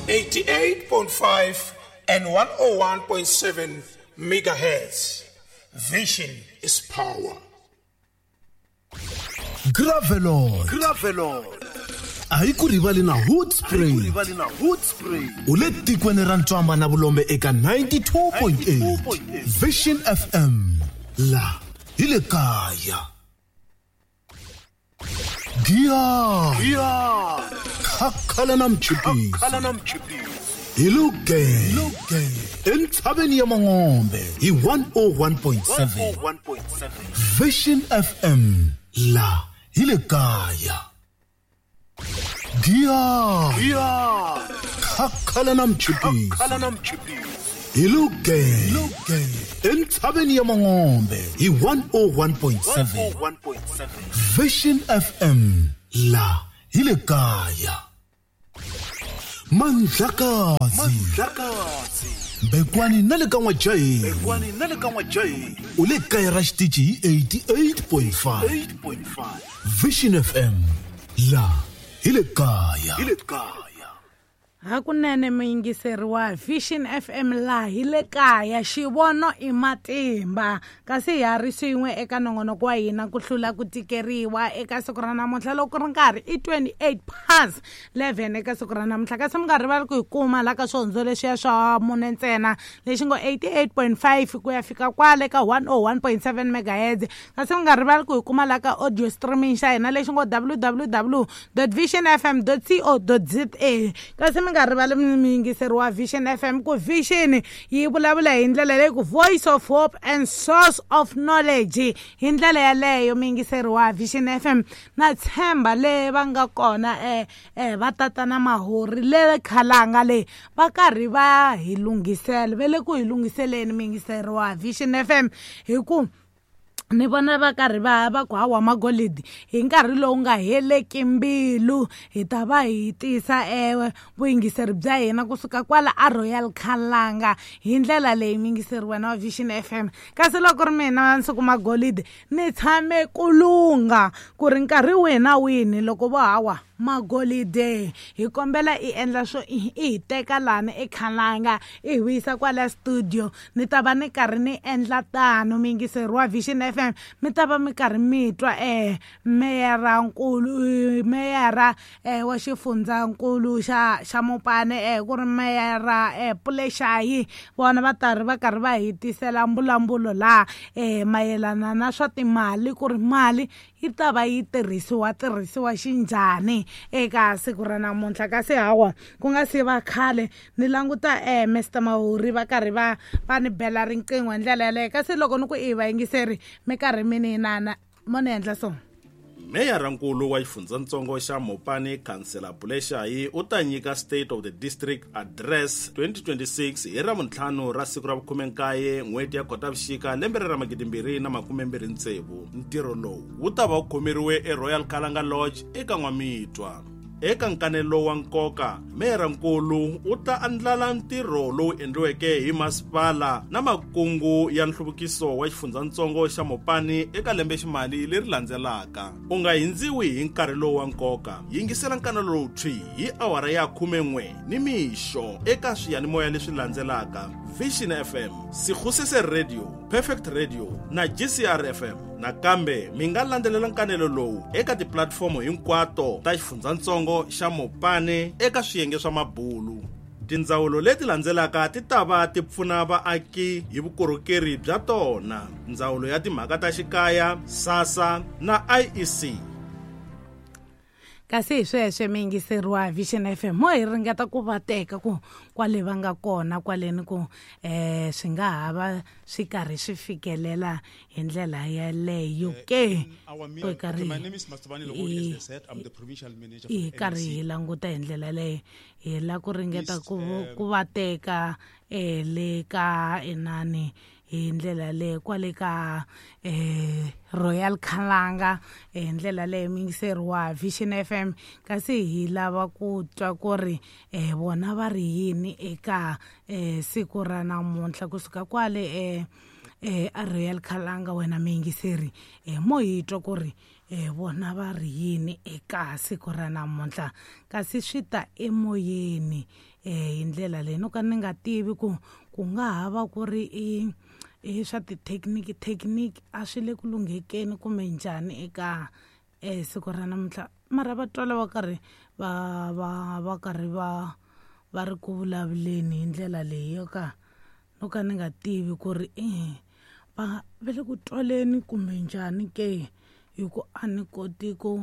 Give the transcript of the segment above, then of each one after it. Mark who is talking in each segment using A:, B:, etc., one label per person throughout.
A: 88.5 and 101.7 megahertz. Vision is power.
B: Gravelon.
C: Gravelon.
B: A hi ku rivali na Hood Spray.
C: Hood Spray.
B: U le tikweni ra Ntswamba na Vulombe eka 92.8 Vision FM. La hi le kaya. Giya.
C: Giya.
B: Khakhala na mchipisi.
C: Khakhala na mchipisi.
B: Hi luge. Entshaveni ya Mangombe hi 101.7.
C: 101.7.
B: Vision FM. La hi le kaya. Giya.
C: Giya.
B: Khakhala na mchipisi.
C: Khakhala na mchipisi.
B: Hi luge. Entshaveni ya Mangombe hi 101.7.
C: 101.7.
B: Vision FM. La hi le kaya. Mandlakazi.
C: Mandlakazi.
B: Bekwani na le ka N'wajaheni.
C: Bekwani na le ka N'wajaheni.
B: U le kaya ra xitichi hi 88.5.
C: 8.5.
B: Vision FM. La hi le kaya.
C: Hi le kaya.
D: Hakunene muyingiseri wa Vision FM la hi le kaya, xivono i matimba. Kasi ha ri swin'we eka nongonoko wa hina ku hlula ku tikeriwa eka siku ra namuntlha loko ri nkarhi i 28 past 11 eka siku ra namuntlha. Kasi mi nga rivali ku hi kuma la ka swihondzo leswiya swa mune ntsena lexi ngo 88.5 ku ya fika kwale ka 101.7 megahertz. Kasi mi nga rivali ku hi kuma la ka audio streaming xa hina lexi ngo www.visionfm.co.za. Kasi mi nga rivali muyingiseri wa Vision FM ku Vision yi vulavula hi ndlela leyi ku voice of hope and source of knowledge. Hi ndlela yaleyo muyingiseri wa Vision FM na tshemba le va nga kona va tatana Mahori le Khalanga le va karhi va hi lunghisela, va le ku hi lunghiseleni muyingiseri wa Vision FM hi ku ni vona va karhi va ku hawa magolidi hi nkarhi lowu nga heleki mbilu hi ta va hi tisa vuyingiseri bya hina kusuka kwala a Royal Khalanga hi ndlela leyi muyingiseri wena wa Vision FM. Kasi loko ri mina Nsuku Magolidi ni tshame ku lungha ku ri nkarhi wihi na wihi loko vo hawa magolide hi kombela i endla swo i hi teka lani eKhalanga i hi vuyisa kwala studio, ni ta va ni karhi ni endla tano muyingiseri wa Vision FM. Mi ta va mi karhi mi twa meyara-nkulu meyara wa xifundzankulu xa Mopani ku ri meyara Puleshayi, vona va ta ri va karhi va hi tisela mbulambulo laha mayelana na swa timali ku ri mali yi ta va yi tirhisiwa xinjhani eka siku ra namuntlha. Kasi hawa ku nga si va khale ni languta Mr Mahori va karhi va ni bela riqingho hi ndlela yaleyo. Kasi loko ni ku i vayingiseri mi karhi mi ni inana mo ni endla so.
E: Meyara-nkulu wa xifundzatsongo xa Mopani Khansela Puleshayi u ta nyika State of the District Address 2026 hi Ravuntlhanu ra siku ra vu-19 n'hweti ya Khotavuxika lembe ra 2026. Ntirho lowu wu ta va wu khomeriwe eRoyal Khalanga Lodge eka N'wamitwa. Eka nkanelo wa nkoka, meyara-nkulu u ta andlala ntirho lowu endliweke hi masipala na makungu ya nhluvukiso wa xifundzatsongo xa Mopani eka lembeximali leri landzelaka. U nga hindziwi hi nkarhi lowu wa nkoka. Yingisela nkanelo lowu thwi hi awara ya 11 nimixo eka swiyanimoya leswi landzelaka: Vision FM, Sikhusese Radio, Perfect Radio na GCR FM. Nakambe mi nga landzelela nkanelo lowu eka tipulatifomo hinkwato ta xifundzatsongo xa Mopani eka swiyenge swa mabulu. Tindzawulo leti landzelaka ti ta va ti pfuna vaaki hi vukorhokeri bya tona: Ndzawulo ya Timhaka ta Xikaya, SASSA na IEC.
D: Kasi hi sweswe muyingiseri wa Vision FM mo hi ringeta ku va teka ku kwale va nga kona kwaleni ku swi nga ha va swi karhi swi fikelela hi ndlela yaleyo ke. Hi karhi hi languta hi ndlela leyo hi la ku ringeta ku va teka le ka inani hi ndlela leyi kwale ka Royal Khalanga hi ndlela leyi muyingiseri wa Vision FM. Kasi hi lava ku twa ku ri vona va ri yini eka siku ra namuntlha kusuka kwale a Royal Khalanga. Wena muyingiseri mo hi twa ku ri Vona va ri yini eka siku ra namuntlha, kasi swi ta emoyeni hi ndlela leyi no ka ni nga tivi ku ku nga ha va ku ri i swa ti-technique a swi le ku lunghekeni kumbe njhani eka siku ra namuntlha. Mara va twala va karhi va va va karhi va va ri ku vulavuleni hi ndlela leyi yo ka no ka ni nga tivi ku ri va va le ku twaleni kumbe njhani ke, hi ku a ni koti ku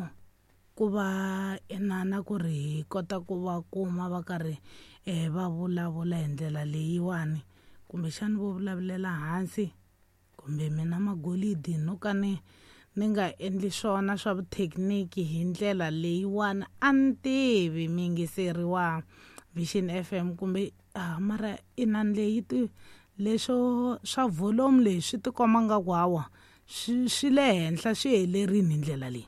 D: ku va inana ku ri hi kota ku va kuma va karhi va vulavula hi ndlela leyiwani, kumbexani vo vulavulela hansi kumbe mina magolidi no ka ni ni nga endli swona swa vuthekiniki hi ndlela leyiwani. A ni tivi muyingiseri wa Vision FM kumbe mara inani leyi ti leswo swa volume leyi swi tikomba nga ku hawa swi le henhla swi helerini hi ndlela leyi,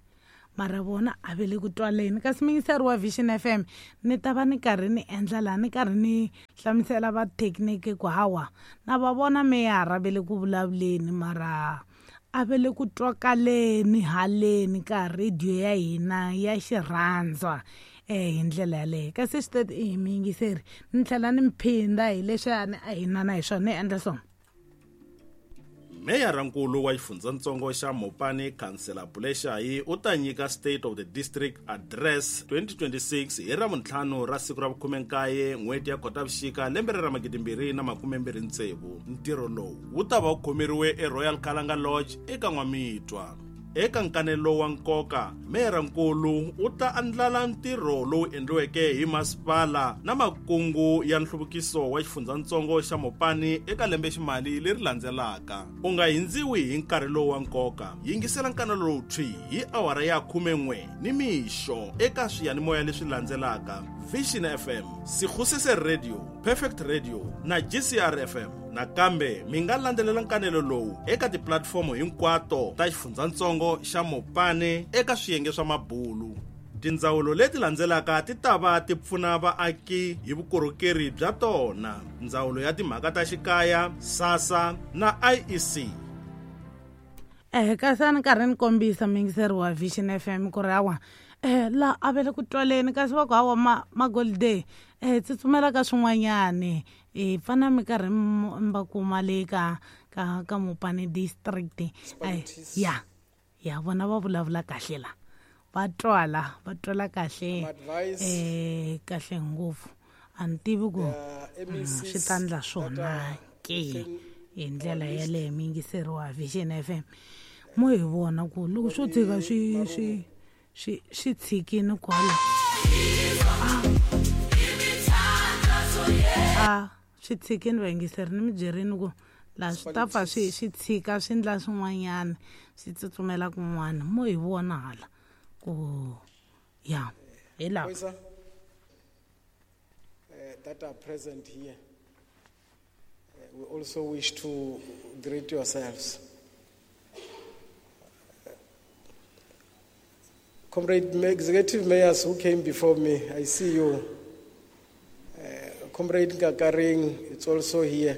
D: mara vona a ve le ku twaleni. Kasi muyingiseri wa Vision FM ni ta va ni karhi ni endla laha ni karhi ni hlamusela va thekiniki ku hawa na va vona meyara ve le ku vulavuleni, mara a ve le ku twakaleni haleni ka radio ya hina ya xirhandzwa hi ndlela yaleyo. Kasi swi teti i muyingiseri ni tlhela ni mphinda hi leswiya a hi na hi swona ni endla swona.
E: Meyara-nkulu wa xifundzatsongo xa Mopani, Khansela Buleshayi, u ta nyika State of the District Address 2026 hi Ravuntlhanu ra siku ra vukhume-nkaye n'hweti ya Khotavuxika lembe ra 2026. Ntirho lowu wu ta va wu khomeriwe eRoyal Kalanga Lodge eka N'wamitwa. Eka nkanelo wa nkoka, meyara-nkulu u ta andlala ntirho lowu endliweke hi masipala na makungu ya nhluvukiso wa xifundzatsongo xa Mopani eka lembeximali leri landzelaka. U nga hindziwi hi nkarhi lowu wa nkoka. Yingisela nkanelo lowu thwi hi awara ya 11 nimixo eka swiyanimoya leswi landzelaka: Vision FM, Sekgosese Radio, Perfect Radio na GCR FM. Nakambe mi nga landzelela nkanelo lowu eka tipulatifomo hinkwato ta xifundzatsongo xa Mopani eka swiyenge swa mabulu. Tindzawulo leti landzelaka ti ta va ti pfuna vaaki hi vukorhokeri bya tona: Ndzawulo ya Timhaka ta Xikaya, SASSA na IEC.
D: Kasi a ni karhi ni kombisa muyingiseri wa Vision FM ku ri hawa la a ve le ku twaleni, kasi va ku hawa magolide tsutsumela ka swin'wanyani, fana mi karhi mi va kuma le ka ka ka Mopani district. Ya ya vona va vulavula kahle la, va twala va twala kahle kahle ngopfu. A ni tivi ku swi ta ndla swona ke hi ndlela yaleyo. Muyingiseri wa Vision FM mo hi vona ku loko swo tshika swi swi swi swi tshikini kwala a swi tshikini vayingiseri, ni mi byerini ku laha swi ta pfa swi swi tshika swi ndla swin'wanyana swi tsutsumela kun'wana. Mo hi vona hala ku ya hi laha.
F: That are present here, we also wish to greet yourselves. Comrade Executive Mayors who came before me, I see you. Comrade Ngakaring, it's also here.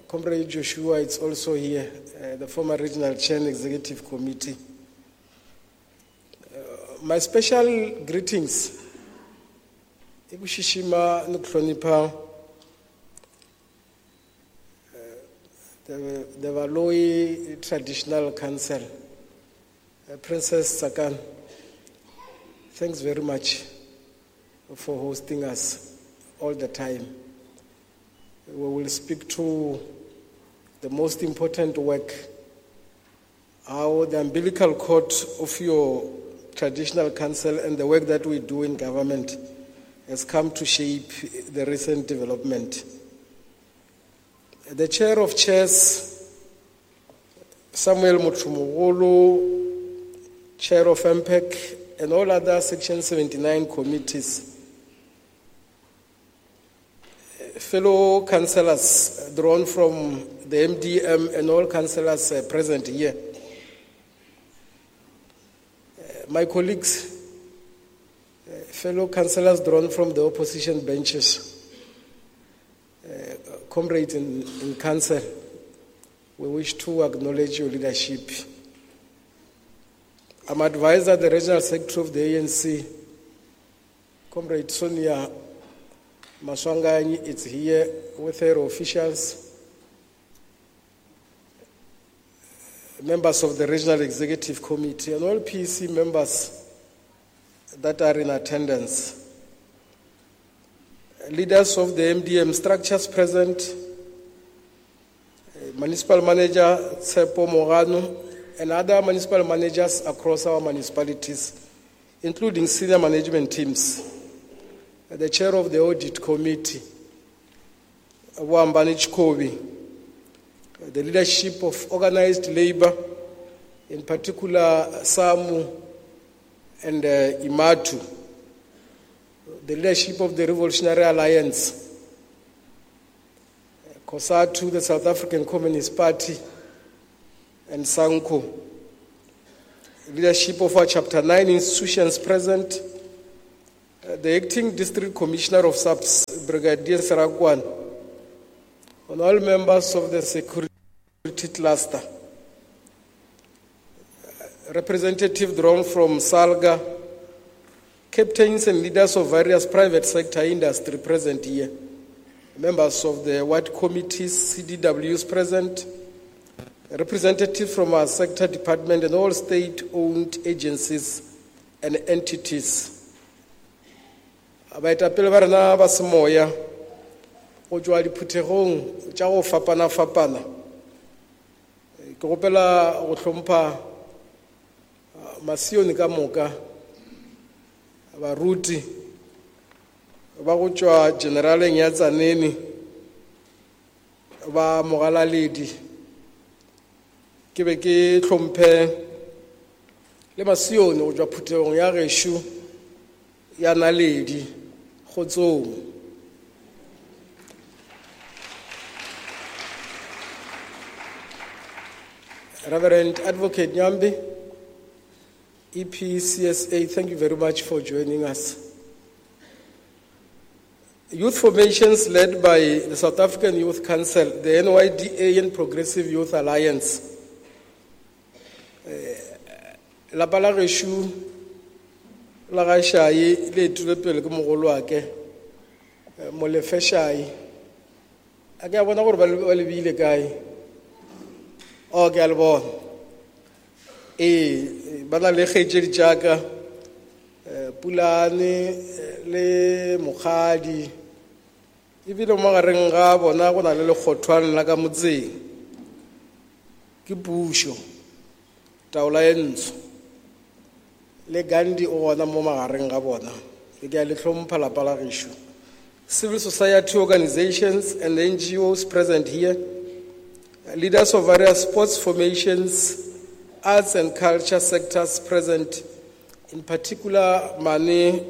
F: Comrade Joshua, it's also here, the former Regional Chair and Executive Committee. My special greetings. Ikushishima nukuhlonipha the Valoyi Traditional Council, Princess Sakan, thanks very much for hosting us all the time. We will speak to the most important work, how the umbilical cord of your traditional council and the work that we do in government has come to shape the recent development. The chair of chairs, Samuel Mutrumugulu, chair of MPEC, and all other Section 79 committees, fellow councillors drawn from the MDM and all councillors present here, my colleagues, fellow councillors drawn from the opposition benches, comrades in council, we wish to acknowledge your leadership. I'm advised that the Regional Secretary of the ANC, Comrade Sonia Maswanganyi, is here with her officials, members of the Regional Executive Committee, and all PEC members that are in attendance. Leaders of the MDM structures present, Municipal Manager Tsepo Morano, and other municipal managers across our municipalities, including senior management teams, the chair of the audit committee, Wambani Chikobi, the leadership of organized labor, in particular SAMU and IMATU, the leadership of the Revolutionary Alliance, COSATU, the South African Communist Party, and SANCO, leadership of our Chapter 9 institutions present, the Acting District Commissioner of SAPS, Brigadier Sarakwan, and all members of the security cluster, representative drawn from SALGA, captains and leaders of various private sector industry present here, members of the ward committees, CDWs present, representative from our sector department and all state-owned agencies and entities. Baetapele ba rena ba semoya go tšwa diphuthegong tša go fapana-fapana. Ke gopela go hlompha masione ka moka, baruti ba go tšwa generaleng ya Tsaneni, ba mogalaledi. Ke be ke hlomphe le masione go tšwa phuthegong ya gešo ya Naledi Kgotsong. Reverend Advocate Nyambi, EPCSA, thank you very much for joining us. Youth formations led by the South African Youth Council, the NYDA and Progressive Youth Alliance. Lapa la gešo la ga Shai le etile pele ke mogolo wa ke, Molefe Shai. A ke a bona gore ba lebile kae? Oh, ke a le bona. Ee, ba na le kgaetšedi tšaka, Pulane le Mokgadi. Ebile mo magareng ga bona go na le lekgothwane la ka motseng. Ke pušo, taola e ntsho. Le Gandhi o gona mo magareng ga bona. Ke a le hlompha lapa la gešo. Civil society organizations and NGOs present here, leaders of various sports formations, arts and culture sectors present, in particular Mane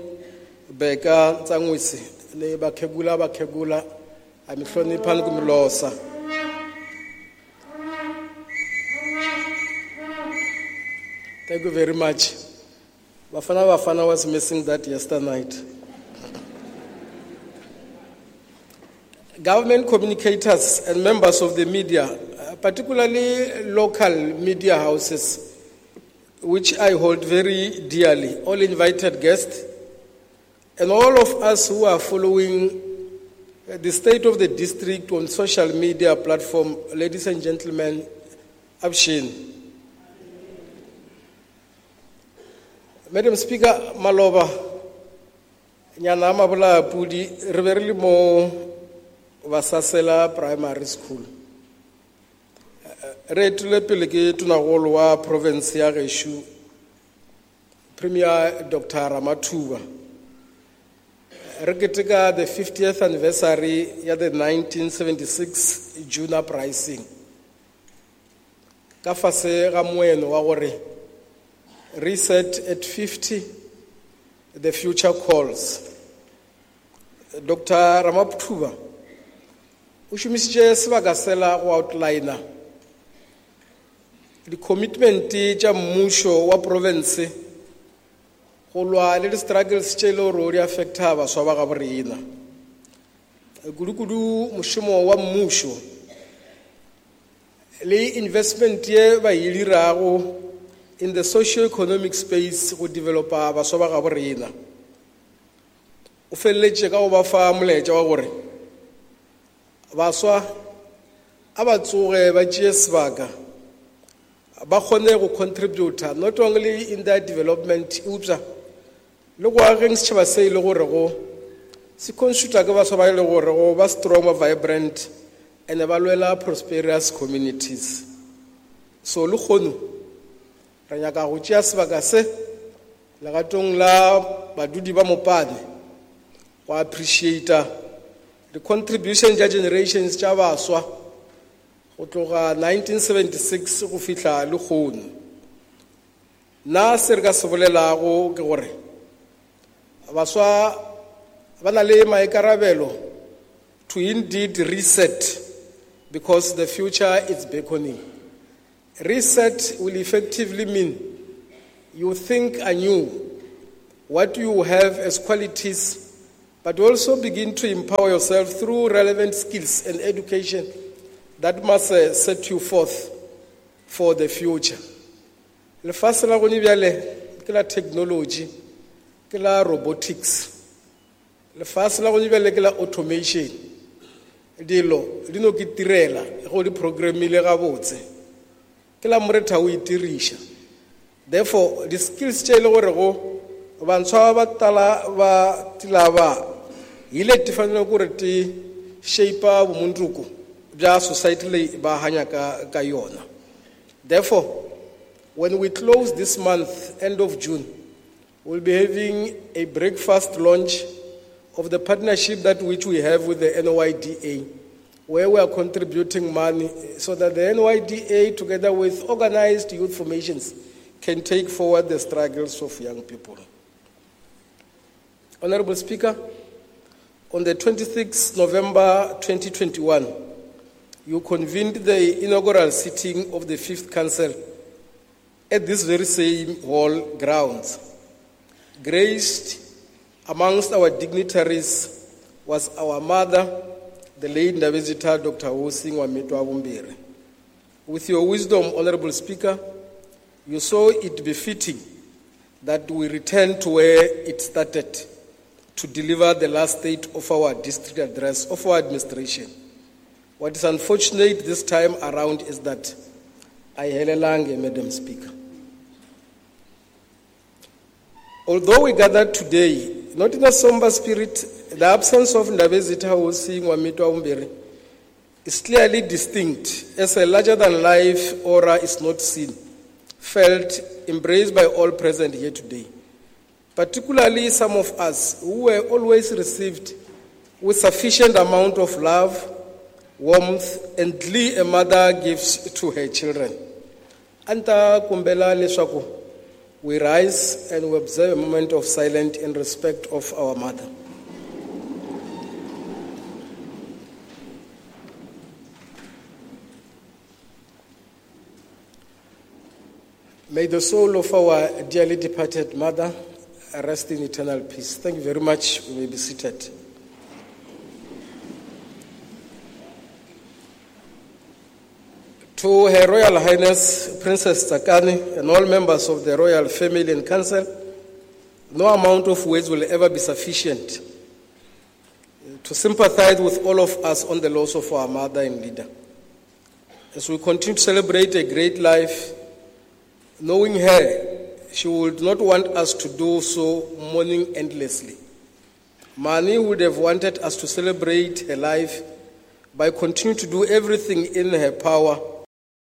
F: Beka Tsangwisi, le Bakhegula Bakhegula, a mi hlonipha ni ku mi losa. Thank you very much. Bafana Bafana was missing that yesterday night. Government communicators and members of the media, particularly local media houses, which I hold very dearly, all invited guests, and all of us who are following the state of the district on social media platform, ladies and gentlemen, Abshin. Madam Speaker, maloba, nyana mabola pudi, re be re le mo Vasasela Primary School. Re etile pele ke tonagolo wa province ya gešo, Premier Dr. Ramathuba. Re keteka the 50th anniversary ya the 1976 June uprising. Ka fase ga moeno wa gore reset at 50, the future calls. Dr. Ramathuba o šomišitše sebaka sela go outliner di-commitment tša mmušo wa province go lwa le di-struggles tše e le gore di affecta baswa ba gabo rena. Kudu-kudu mošomo wa mmušo le investment ye ba e dirago in the socio-economic space go developa baswa ba gabo rena. O feleletše ka go ba fa molaetša wa gore baswa a ba tsoge ba tšee sebaka ba kgone go contributa not only in their development eupša le go ageng setšhaba se e le gore go se constituta ke baswa ba e le gore go ba strong, ba vibrant and ba lwela prosperous communities. So le kgono re nyaka go tšea sebaka se legatong la badudi ba Mopane go appreciata the contribution tša generations tša baswa go tloga 1976 go fihla le kgono. Nna se re ka se bolelago ke gore baswa ba na le maikarabelo to indeed reset, because the future is beckoning. Reset will effectively mean you think anew what you have as qualities, but also begin to empower yourself through relevant skills and education that must set you forth for the future. Lefase la gone bjale ke la technology, ke la robotics. Lefase la gone bjale ke la automation. Dilo di no ke tirela go di programmile gabotse. Ke la moretha o itiriša. Therefore, the skills tše e le gore go bantshwa ba tala ba tilaba ile ti fanele gore ti shape bomuntuku bja society le ba hanya ka yona. Therefore, when we close this month, end of June, we'll be having a breakfast launch of the partnership that which we have with the NYDA, where we are contributing money so that the NYDA, together with organized youth formations, can take forward the struggles of young people. Honorable Speaker, on the 26th November 2021, you convened the inaugural sitting of the 5th Council at this very same hall grounds. Graced amongst our dignitaries was our mother, the late Ndabezitha Dr. Hosi Nwamitwa Bumbiri. With your wisdom, Honorable Speaker, you saw it befitting that we return to where it started to deliver the last state of our district address, of our administration. What is unfortunate this time around is that I helelange, Madam Speaker. Although we gathered today, not in a somber spirit, the absence of Ndabezitha Hosi Nwamitwa Bumbiri is clearly distinct, as a larger-than-life aura is not seen, felt, embraced by all present here today. Particularly some of us who were always received with sufficient amount of love, warmth, and glee a mother gives to her children. Anta kumbela leswaku we rise and we observe a moment of silence in respect of our mother. May the soul of our dearly departed mother rest in eternal peace. Thank you very much. We may be seated. To Her Royal Highness Princess Tsakani and all members of the Royal Family and Council, no amount of words will ever be sufficient to sympathize with all of us on the loss of our mother and leader. As we continue to celebrate a great life, knowing her, she would not want us to do so mourning endlessly. Mani would have wanted us to celebrate her life by continuing to do everything in her power